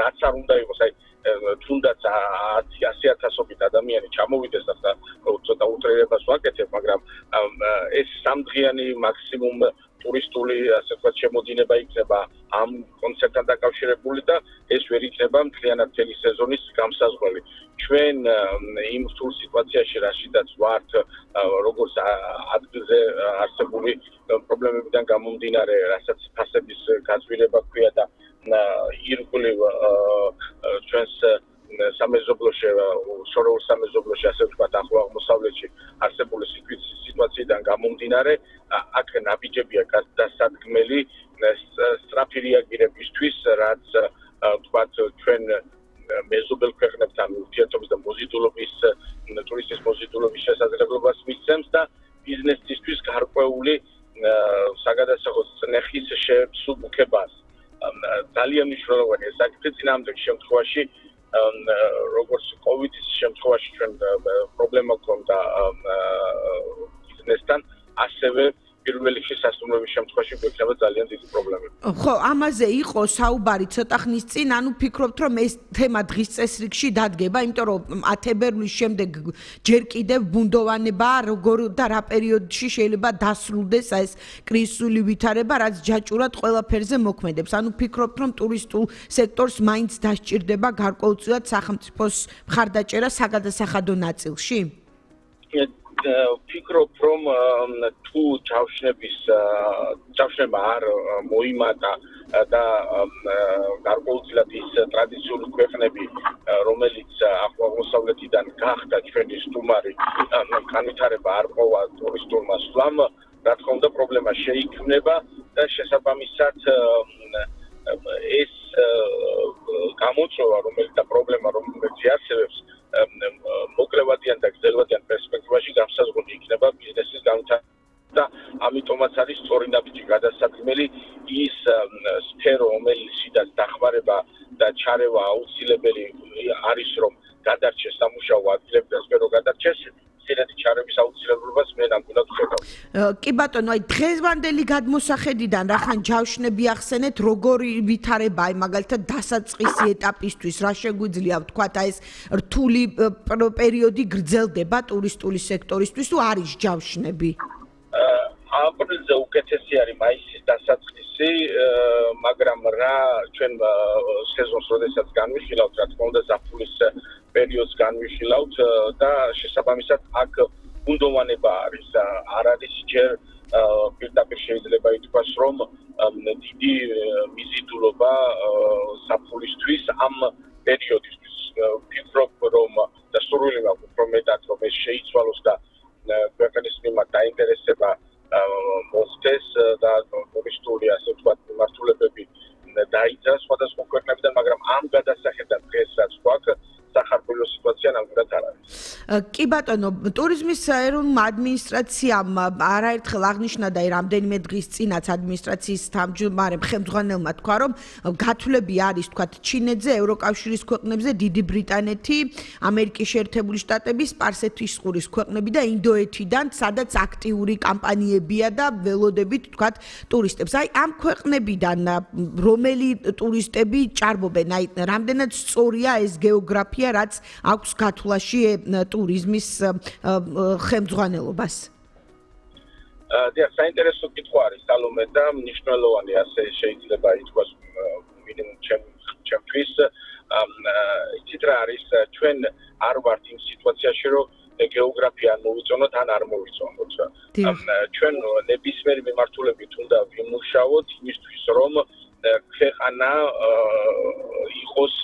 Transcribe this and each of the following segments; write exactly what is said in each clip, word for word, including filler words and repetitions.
რაც არ უნდა იყოს, აი თუნდაც ათი ათასობით ადამიანი ჩამოვიდეს და ცოტა უტრირებას ვაკეთებ, მაგრამ ეს სამდღიანი მაქსიმუმ ტურისტული ასე ვთქვათ შემოდინება იქნება ამ კონცერტთან დაკავშირებული და ეს ვერ იქნება მთლიანად მთელი სეზონის გამსაზღვრელი. ჩვენ იმ რთულ სიტუაციაში რაშიდაც ვართ, როგორც ადგილზე არსებული პრობლემებიდან გამომდინარე, რასაც ფასების გაზვირება ჰქვია და ირგვლივ ჩვენს სამეზობლოში, შორეულ სამეზობლოში, ასე ვთქვათ, ახლო აღმოსავლეთში არსებული სიტუაციიდან გამომდინარე, აქ ნაბიჯებია გადასადგმელი სწრაფი რეაგირებისთვის, რაც ვთქვათ, ჩვენ მეზობელ ქვეყნებთან ურთიერთობის და მოზიდულობის, ტურისტის მოზიდულობის შესაძლებლობას მისცემს და ბიზნესისთვის გარკვეული საგადასახო წნეხის შესუბუქებას. ძალიან მნიშვნელოვანია საკითხი წინააღმდეგ შემთხვევაში, როგორც კოვიდის შემთხვევაში ჩვენ პრობლემა გქონდა ბიზნესთან, ასევე პირველ რიგში სასტუმროების შემთხვევაში გვექნება ძალიან დიდი პრობლემები. ხო, ამაზე იყო საუბარი ცოტა ხნის წინ, ანუ ფიქრობთ, რომ ეს თემა დღის წესრიგში დადგება, იმიტომ რომ ათი შემდეგ ჯერ კიდევ ბუნდოვანებაა, როგორ და რა პერიოდში შეიძლება დასრულდეს ეს კრიზისული ვითარება, რაც ჯაჭურად ყველაფერზე მოქმედებს. ანუ ფიქრობთ, რომ ტურისტულ სექტორს მაინც დასჭირდება გარკვეულწილად სახელმწიფოს მხარდაჭერა საგადასახადო ნაწილში? ფიქრობ, რომ თუ ჯავშნების ჯავშნება არ მოიმატა და გარკვეულწილად ის ტრადიციული ქვეყნები, რომელიც ახლო აღმოსავლეთიდან გახდა ჩვენი სტუმარი, განვითარება არ ყოფა ტურისტულმა სვლამ, რა თქმა უნდა პრობლემა შეიქმნება და შესაბამისად ეს გამოწვევა, რომელიც და პრობლემა, რომელიც არსებობს, მოკლევადიან და გრძელვადიან პერსპექტივაში გამსაზღვრული იქნება ბიზნესის განვითარება და ამიტომაც არის სწორი ნაბიჯი გადასადგმელი ის სფერო, რომელშიდაც დახმარება და ჩარევა აუცილებელი არის, რომ გადარჩეს სამუშაო ადგილები და სფერო გადარჩეს. სერეთი ჩარების აუცილებლობას მე ნამდვილად ვხედავ. კი ბატონო, აი დღევანდელი გადმოსახედიდან რახან ჯავშნები ახსენეთ, როგორი ვითარება, აი მაგალითად დასაწყისი ეტაპისთვის, რა შეგვიძლია ვთქვათ, აი ეს რთული პერიოდი გრძელდება ტურისტული სექტორისთვის თუ არის ჯავშნები? აპრილზე უკეთესი არის მაისის დასაწყისი, მაგრამ რა ჩვენ სეზონს როდესაც განვიხილავთ, რა თქმა უნდა ზაფხულის პერიოდს განვიხილავთ და შესაბამისად აქ ბუნდოვანება არის, არ არის ჯერ პირდაპირ შეიძლება ითქვას, რომ დიდი მიზიდულობა ზაფხულისთვის ამ პერიოდისთვის. ფიქრობ, რომ და სურვილი მაქვს, რომ მეტად რომ ეს შეიცვალოს და ქვეყნის მიმართ დაინტერესება მოხდეს და ტურისტული ასე ვთქვათ მიმართულებები დაიძრას სხვადასხვა ქვეყნებიდან, მაგრამ ამ გადასახედად დღეს რაც გვაქვს სახარბელო სიტუაცია ნამდვილად არ არის. კი ბატონო, ტურიზმის ეროვნულ ადმინისტრაციამ არაერთხელ აღნიშნა და რამდენიმე დღის წინაც ადმინისტრაციის თავმჯდომარემ ხელმძღვანელმა თქვა, რომ გათვლები არის თქვათ ჩინეთზე, ევროკავშირის ქვეყნებზე, დიდი ბრიტანეთი, ამერიკის შეერთებული შტატები, სპარსეთის ყურის ქვეყნები და ინდოეთიდან, სადაც აქტიური კამპანიებია და ველოდებით თქვათ ტურისტებს. აი ამ ქვეყნებიდან რომელი ტურისტები ჭარბობენ? აი რამდენად სწორია ეს გეოგრაფია, რაც აქვს გათვლაში ტურიზმის ხელმძღვანელობას? დიახ, საინტერესო კითხვა არის სალომე და მნიშვნელოვანი ასე შეიძლება ითქვას მინიმუმ ჩემთვის. იცით რა არის, ჩვენ არ ვართ იმ სიტუაციაში, რომ გეოგრაფია ან მოვიწონოთ, ან არ მოვიწონოთ. ჩვენ ნებისმიერი მიმართულებით უნდა ვიმუშაოთ იმისთვის, რომ ქვეყანა იყოს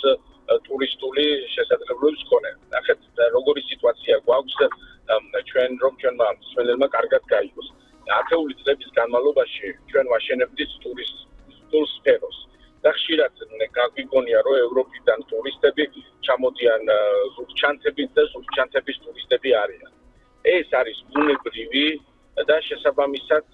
ტურისტული შესაძლებლობების მქონე. ნახეთ, როგორი სიტუაცია გვაქვს, ჩვენ რომ ჩვენმა მსმენელმა კარგად გაიგოს. ათეული წლების განმავლობაში ჩვენ ვაშენებდით ტურისტულ სფეროს. და ხშირად გაგვიგონია, რომ ევროპიდან ტურისტები ჩამოდიან ზურგჩანთებით და ზურგჩანთების ტურისტები არიან. ეს არის ბუნებრივი და შესაბამისად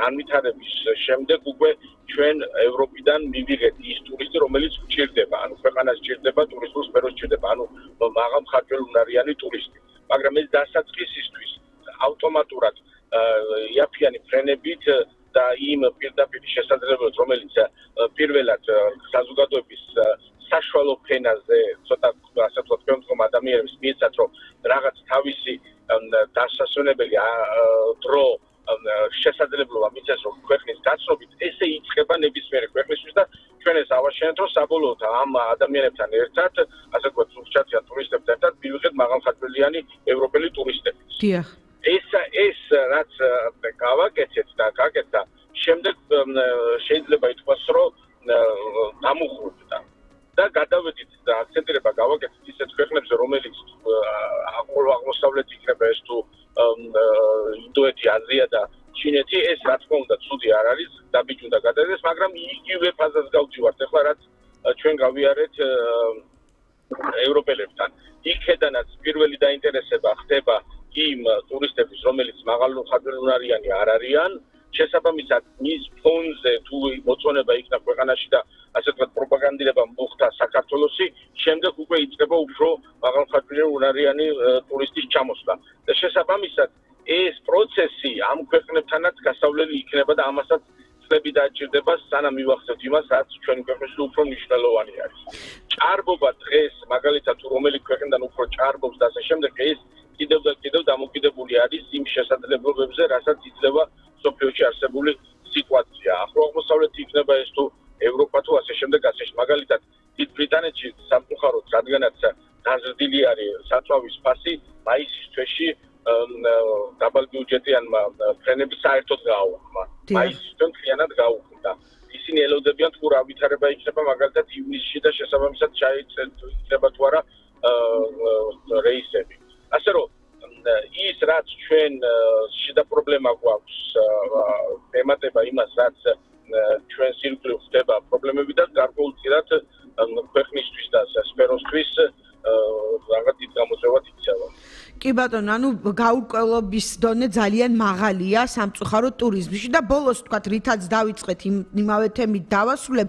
განვითარების შემდეგ უკვე ჩვენ ევროპიდან მივიღეთ ის ტურისტი, რომელიც გვჭირდება, ანუ ქვეყანას ჭირდება, ტურისტულ სფეროს ჭირდება, ანუ მაღალმხარჯველუნარიანი ტურისტი. მაგრამ ეს დასაწყისისთვის ავტომატურად იაფიანი ფრენებით და იმ პირდაპირ შესაძლებლობებს, რომელიც პირველად საზოგადოების საშუალო ფენაზე ცოტა ასე ვთქვათ თქვენ ადამიანებს მიეცათ რომ რაღაც თავისი დასასვენებელი დრო შესაძლებლობა მიცეს რომ ქვეყნის გაცნობით ესე იწყება ნებისმიერი ქვეყნისთვის და ჩვენ ეს ავაშენეთ რომ საბოლოოდ ამ ადამიანებთან ერთად ასე ვთქვათ სულშჩათიან ტურისტებთან ერთად მივიღეთ მაღალხარჯბილიანი ევროპელი ტურისტები. დიახ. ეს ეს რაც გავაკეთეთ და გაკეთდა შემდეგ შეიძლება ითქვას რომ დამუხრდა და გადავედით და აქცენტირება გავაკეთეთ ისეთ ქვეყნებზე რომელიც აღმოსავლეთი იქნება ეს თუ ინდოეთი, აზია და ჩინეთი ეს რა თქმა უნდა ცუდი არ არის დაბიჯუნდა გადადეს მაგრამ იგივე ფაზას გავჯივართ ახლა რაც ჩვენ გავიარეთ ევროპელებთან იქედანაც პირველი დაინტერესება ხდება იმ ტურისტების რომელიც მაღალხარჯბილიანი არ არიან შესაბამისად მის ფონზე თუ მოწონება იქნა ქვეყანაში და ასე ვთქვათ პროპაგანდირება მოხდა საქართველოსი შემდეგ უკვე იწყება უფრო მაღალხარჯბილიანი ტურისტის ჩამოსვლა და შესაბამისად ეს პროცესი ამ ქვეყნებთანაც გასავლელი იქნება და ამასაც წლები დაჭირდება სანამ მივახცევთ იმას რაც ჩვენი ქვეყნისთვის უფრო მნიშვნელოვანი არის. ჭარბობა დღეს მაგალითად თუ რომელი ქვეყნიდან უფრო ჭარბობს და ასე შემდეგ ეს კიდევ და კიდევ დამოკიდებული არის იმ შესაძლებლობებზე რასაც იძლევა სოფიოში არსებული სიტუაცია. ახლო აღმოსავლეთი იქნება ეს თუ ევროპა თუ ასე შემდეგ ასე მაგალითად დიდ ბრიტანეთში სამწუხაროდ რადგანაც გაზრდილი არის საწვავის ფასი მაისის თვეში დაბალბიუჯეტიანმა ფრენები საერთოდ გააუქმა. მაისისთან მთლიანად გაუქმდა. ისინი ელოდებიან თუ რა ვითარება იქნება მაგალითად ივნისში და შესაბამისად შეიძლება თუ არა რეისები. ასე რომ ის რაც ჩვენ შიდა პრობლემა გვაქვს ემატება იმას რაც ჩვენ სირგლივ ხდება პრობლემები და გარკვეულწილად ქვეყნისთვის და სფეროსთვის რაღაც დიდ გამოწვევად იქცევა. კი ბატონო, ანუ გაურკვევლობის დონე ძალიან მაღალია სამწუხაროდ ტურიზმში და ბოლოს თქვათ რითაც დავიწყეთ იმავე თემით დავასრულებ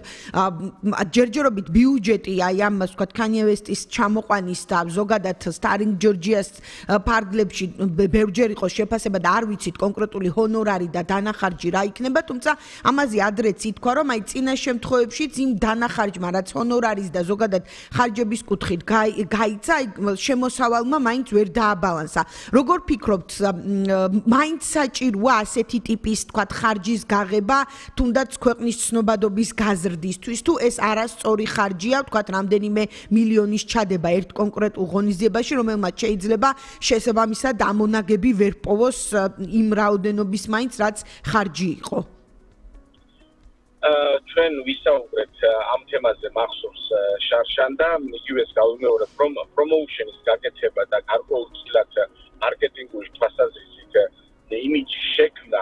ჯერჯერობით ბიუჯეტი აი ამ თქვათ Kanye West-ის ჩამოყვანის და ზოგადად Starring Georgia-ს ფარგლებში ბევრჯერ იყო შეფასება და არ ვიცით კონკრეტული ჰონორარი და დანახარჯი რა იქნება, თუმცა ამაზე ადრეც ითქვა რომ აი წინა შემთხვევებშიც იმ დანახარჯმა რაც ჰონორარის და ზოგადად ხარჯების კუთხით გაიცა, აი შემოსავალმა მაინც ვერ დააბალანსა. როგორ ფიქრობთ, მაინც საჭიროა ასეთი ტიპის, თქვათ, ხარჯის გაღება, თუნდაც ქვეყნის ცნობადობის გაზრდისთვის, თუ ეს არასწორი ხარჯია, თქვათ, რამდენიმე მილიონის ჩადება ერთ კონკრეტულ ღონისძიებაში, რომელმაც შეიძლება შესაბამისად ამონაგები ვერ პოვოს იმ რაოდენობის მაინც, რაც ხარჯი იყო. ჩვენ ვისაუბრეთ ამ თემაზე მახსოვს შარშან და იგივეს გავიმეორებ რომ პრომოუშენის გაკეთება და გარკვეულწილად მარკეტინგული თვალსაზრისით იმიჯის შექმნა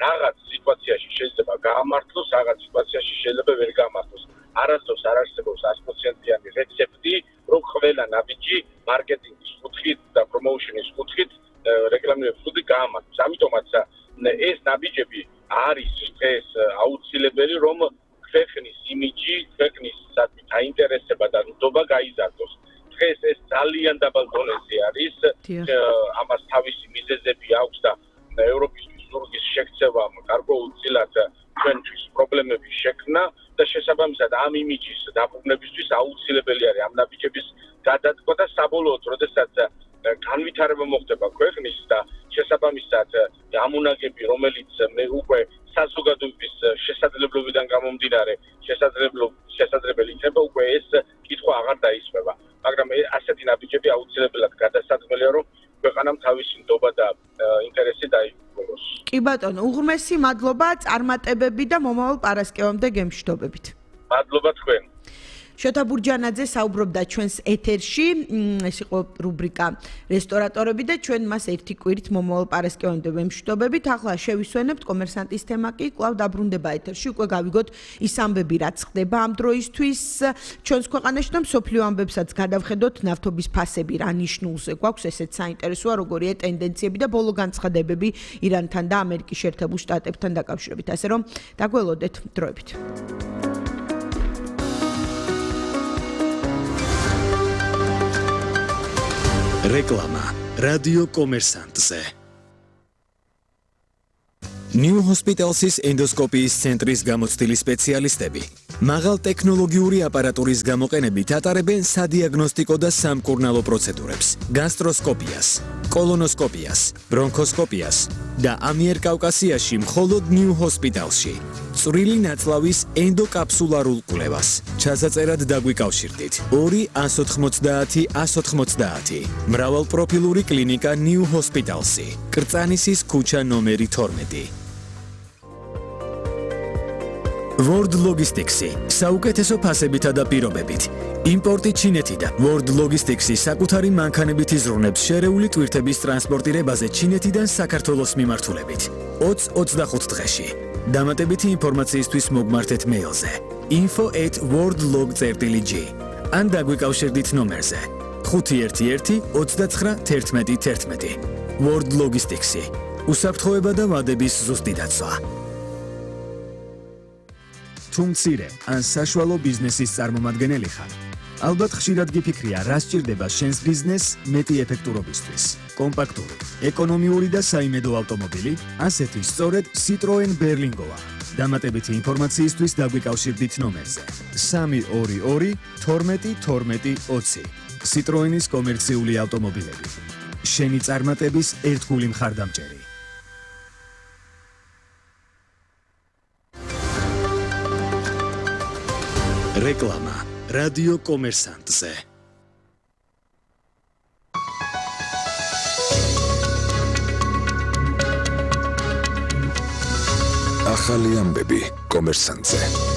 რაღაც სიტუაციაში შეიძლება გაამართლოს, რაღაც სიტუაციაში შეიძლება ვერ გაამართლოს. არასდროს არ არსებობს sto პროცენტიანი რეცეპტი, რომ ყველა ნაბიჯი მარკეტინგის კუთხით და პრომოუშენის კუთხით რეკლამირების კუთხით გაამართლოს. ამიტომაც ეს ნაბიჯები არის ეს აუცილებელი რომ ქვეყნის იმიჯი, ქვეყნის საინტერესება და ნდობა გაიზარდოს. დღეს ეს ძალიან დაბალ დონეზე არის. ამას თავისი მიზეზები აქვს და ევროპისთვის ზურგის შექცევა გარკვეულწილად ჩვენთვის პრობლემების შექმნა და შესაბამისად ამ იმიჯის დაბრუნებისთვის აუცილებელი არის ამ ნაბიჯების გადადგმა და საბოლოოდ როდესაც განვითარება მოხდება ქვეყნის და შესაბამისად ამონაგები რომელიც მე უკვე საზოგადოების შესაძლებლობიდან გამომდინარე შესაძლებელი იქნება უკვე ეს კითხვა აღარ დაისვება მაგრამ ასეთი ნაბიჯები აუცილებლად გადასაწყვეტია რომ ქვეყანამ თავისი ნდობა და ინტერესი დაიკავოს. კი ბატონო, უღრმესი მადლობა წარმატებები და მომავალ პარასკევამდე გემშვიდობებით. მადლობა თქვენ. შოთა ბურჯანაძე საუბრობდა ჩვენს ეთერში, ეს იყო რუბრიკა რესტორატორები და ჩვენ მას ერთი კვირით მომავალ პარასკევამდე ვემშვიდობებით. ახლა შევისვენებთ კომერსანტის თემა კი კვლავ დაბრუნდება ეთერში, უკვე გავიგოთ ის ამბები რაც ხდება ამ დროისთვის ჩვენს ქვეყანაში და მსოფლიო ამბებსაც გადავხედოთ ნავთობის ფასები რა ნიშნულზე გვაქვს, ესეც საინტერესოა როგორია ტენდენციები და ბოლო განცხადებები ირანთან და ამერიკის შეერთებულ შტატებთან დაკავშირებით. ასე რომ დაგველოდეთ დროებით. რეკლამა რადიო კომერსანტზე. New Hospital's ენდოსკოპიის ცენტრის გამოცდილი სპეციალისტები მაღალ ტექნოლოგიური აპარატურის გამოყენებით ატარებენ სადიაგნოსტიკო და სამკურნალო პროცედურებს, გასტროსკოპიას, კოლონოსკოპიას, ბრონქოსკოპიას და ამიერკავკასიაში მხოლოდ ნიუ ჰოსპიტალში. წვრილი ნაწლავის ენდოკაფსულარულ კვლევას. ჩასაწერად დაგვიკავშირდით ორი ას ოთხმოცდაათი ას ოთხმოცდაათი. მრავალპროფილური კლინიკა ნიუ ჰოსპიტალსი. კრწანისის ქუჩა ნომერი თორმეტი. World Logistics-ი საუკეთესო ფასებითა და პირობებით. იმპორტი ჩინეთიდან. World Logistics-ი საკუთარი მანქანებით იზრუნებს შერეული ტვირთების ტრანსპორტირებაზე ჩინეთიდან საქართველოს მიმართულებით. ოცი ოცდახუთ დღეში. დამატებითი ინფორმაციისთვის მოგმართეთ მეილზე info at worldlog წერტილი g ან დაგვიკავშირდით ნომერზე ხუთი ერთი ერთი ოცდაცხრა თერთმეტი თერთმეტი. World Logistics-ი უსაფრთხოება და ვადების ზუსტი დაცვა. თუ მცირე ან საშუალო ბიზნესის წარმომადგენელი ხარ, ალბათ ხშირად გიფიქრია, რა სჭირდება შენს ბიზნესს მეტი ეფექტურობისთვის. კომპაქტური, ეკონომიური და საიმედო ავტომობილი, ასეთი სწორედ Citroen Berlingoა. დამატებითი ინფორმაციისთვის დაგვიკავშირდით ნომერზე სამი ორი ორი თორმეტი თორმეტი ოცი. Citroen-ის კომერციული ავტომობილები. შენი წარმატების ერთგული მხარდამჭერი. რეკლამა რადიო კომერსანტზე. ახალი ამბები კომერსანტზე.